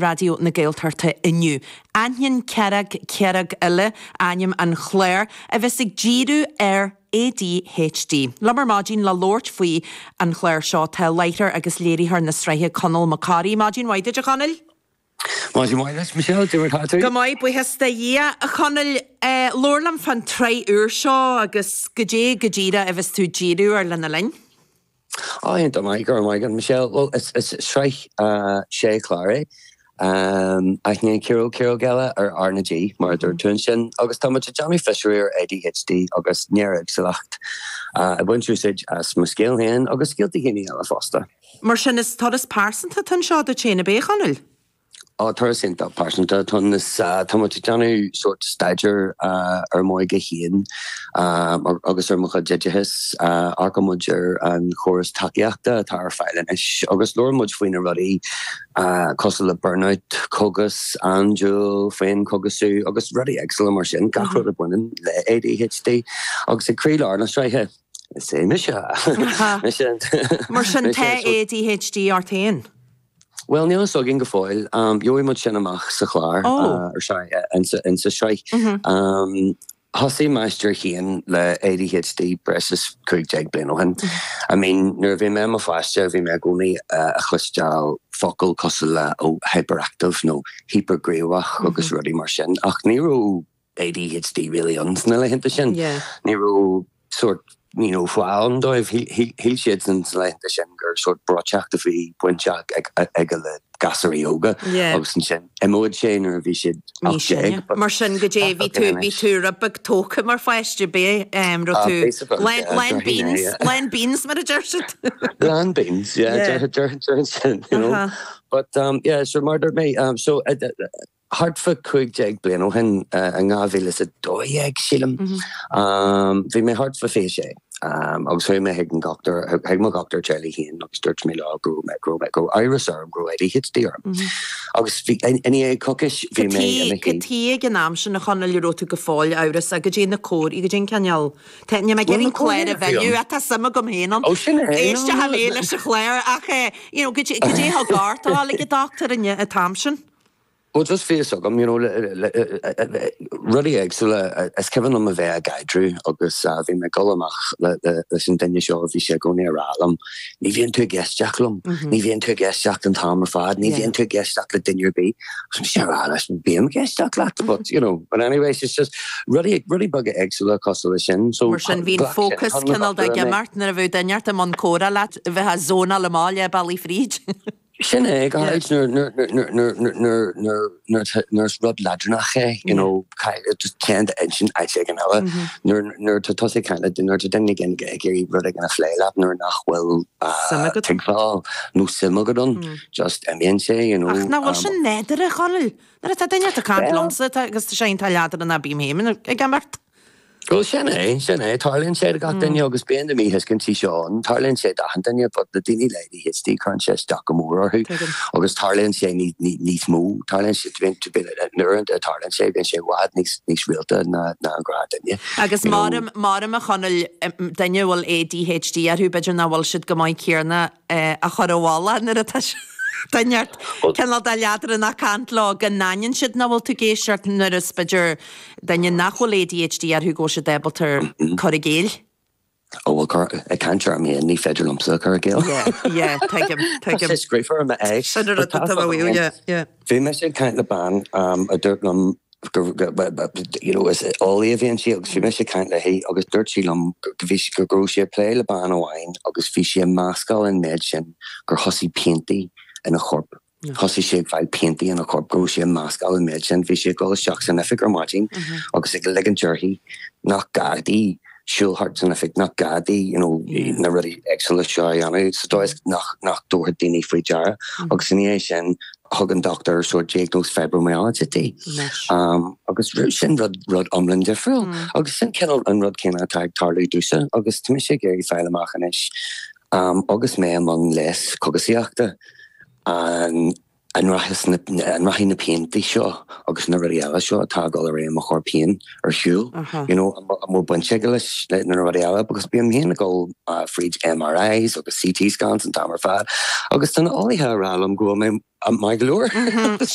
Raidió na Gaeltachta inniu. Aithníonn Cearc Cearc Eile ainm an chláir, a bheas ag díriú ar ADHD. Liom ar maidin le labhairt faoi an chlár seo tá láithreoir agus léiritheoir na sraithe Conall Mac Corraidh. Maidin mhaith duit a Chonaill. Maidin mhaith duit, Michelle, cad é mar atá tú? Go maith, buíochas do Dhia. A Chonaill, labhair liom fán tsraith úr seo agus goidé go díreach a bheas tú ag díriú air lena linn. Á, iontach maith, go raibh maith agat, Michelle. Bhuel, is sraith sé chlár é. Aithníonn Ciaróg Ciaróg Eile ar R na G, mar a dúirt tú ansin, agus tá muid ag déanamh fiosrú ar ADHD agus néaréagsúlacht, ag baint úsáid as mo scéal féin agus scéalta daoine eile fosta. Mar sin, is turas pearsanta atá anseo duit féin, ab é, a Chonaill? Á, turas iontach pearsanta atá ann. Is tá muid ag déanamh sórt staidéar ar m'óige féin agus ar mo chuid oideachais. Amharcann muid ar an chóras tacaíochta atá ar fáil anois agus labhrann muid faoi na rudaí cosúil le burnout, cógas andúil, féinchógasú agus rudaí éagsúla mar sin, gach rud a bhaineann le ADHD. Agus ag croílár na sraithe, is é mise. Mar sin, tá ADHD ort féin? Bhuel, níl a fhios againn go fóill. Gheobhaidh muid sin amach sa chlár, or sorry, insa sraith. Thosaigh m'aistear féin le ADHD breis is 15 bliain ó shin. I mean, nuair a bhí mé i mo pháiste, bhí mé i gcónaí a chloisteáil focal cosúil le oh, hyperactive nó hípearghníomhach agus rudaí mar sin, ach ní raibh ADHD really ann sna laethanta sin. Ní raibh sórt you know fáth ann dóibh. Shíl siadsan sna laethanta sin gur sórt breoiteacht a bhí bainteach aige le gasúraí óga agus ansin imeoidh sé nuair a bhí siad 18. Mar sin goidé bhí tú bhí tú rud beag tógtha mar pháiste b'é raibh tú lán beans lán beans mar a deir siad. Lán beans yeah deir deir sin you know. But yeah so mar a dúirt mé so Thart fá 15 bliain ó shin, in 2012 sílim, bhí mé thart fá 26 agus chuaigh mé chuig an dhochtúir, chuig mo dhochtúir teaghlaigh féin agus dúirt mé leo go raibh mé, go raibh mé, go raibh amhras orm go raibh ADHD orm. Agus bhí, i ndiaidh coicís bhí mé i mo shuí. Cad chuige ag an am sin a Chonaill a raibh tú go fóill amhrasach, goidé na comharthaí, goidé an cineál, tá, níl mé ag iarraidh an clár a mhilleadh ach tá suim agam féin ann. Ó sin é. Éisteoidh mé leis an chlár ach you know, goidé, goidé a thug ort a dhul ag an dochtúir an t-am sin? Bhuel, just bhí a fhios agam, you know, rudaí éagsúla. Is cuimhin liom a bheith ag caidreamh agus bhí mé ag dul amach leis an duine seo, bhí sé i gcónaí ag rá liom, ní bhíonn tú ag éisteacht liom, ní bhíonn tú ag éisteacht an t-am ar fad, ní bhíonn tú ag éisteacht le duine ar bith. Agus mise ag rá leis, bím ag éisteacht leat, but, you know, but anyway, it's just rudaí, rudaí beaga éagsúla cosúil leis sin. So, Mar sin, bhí an fócas cineál de ag imeacht nuair a bheadh duine ort i mbun comhrá leat, bheifeá ag zónáil amach leath bealaigh fríd. Sin é, go háirid nuair is rud leadránach é, you know, just téann d'intinn áit éigin eile. Nuair atá tusa ag caint le, nuair atá duine éigin ag iarraidh rud éigin a phlé leat nuair nach bhfuil tuigbheáil nó suim agat ann, just imíonn sé, you know. Ach nach bhfuil sin nádúrtha, a Chonaill? Nuair atá duine ag caint liomsa agus tá sé iontach leadránach bím féin ag imeacht. Bhuel, sin é, sin é. Tarlaíonn sé do gach duine agus bíonn na míthuiscintí seo ann. Tarlaíonn sé d'achan duine but le daoine le ADHD cuireann sé isteach go mór orthu agus tarlaíonn sé níos mó, tarlaíonn sé, uaireanta tarlaíonn sé, bíonn sé i bhfad níos, níos rialta ná an gnáthdhuine. Agus maram, maram a Chonaill, duine a bhfuil ADHD orthu, b'fhéidir nach bhfuil siad chomh maith céanna a chur i bhfolach nuair atá duine ort cineál de leadránach ag caint leo, go n-aithníonn siad nach bhfuil tú ag éisteacht nuair is b'fhéidir Duine nach bhfuil ADHD orthu go bhfuil siad ábalta cur i gcéill. Ó bhuel, cur, ag caint orm féin, ní féidir liomsa cur i gcéill. Yeah, yeah, tuigim, tuigim. Tá sé scríofa ar m'aghaidh. Sin an rud atá mé a mhaíomh, yeah, yeah. Bhí mise ag caint le bean a dúirt liom go, you know, is eolaí a bhí inti agus bhí mise ag caint léi agus dúirt sí liom go bhí, go raibh sí ag plé le bean amháin agus bhí sí ag meascáil an méid sin gur thosaigh piantaí ina chorp. Thosaigh sí ag fáil piantaí ina corp go raibh sí ag meascáil an méid sin. Bhí sí ag dul isteach san oifig ar maidin agus ag ligint uirthi nach gá di siúl thart san oifig, nach gá di you know na rudaí éagsúla seo a dhéanamh sa dóigh is nach nach dtabharfadh daoine faoi deara. Agus ina dhiaidh sin thug an dochtúir sórt diagnóis fibromyalgia di. Agus sin rud rud iomlán difriúil. Agus sin cineál an rud céanna atá ag tarlú domhsa agus tá mise ag iarraidh fáil amach anois agus mé i mbun leigheas cógaisíochta. An rachaidh an rachaidh na piantaí seo agus na rudaí eile seo atá ag dul ar aghaidh i mo chorp féin ar shiúl, you know, an bhfuil baint aige leis na rudaí eile because bím féin ag dul fríd MRIs agus CT scans an t-am ar fad agus tá na eolaithe ag rá liom go bhfuil mé. Maith go leor.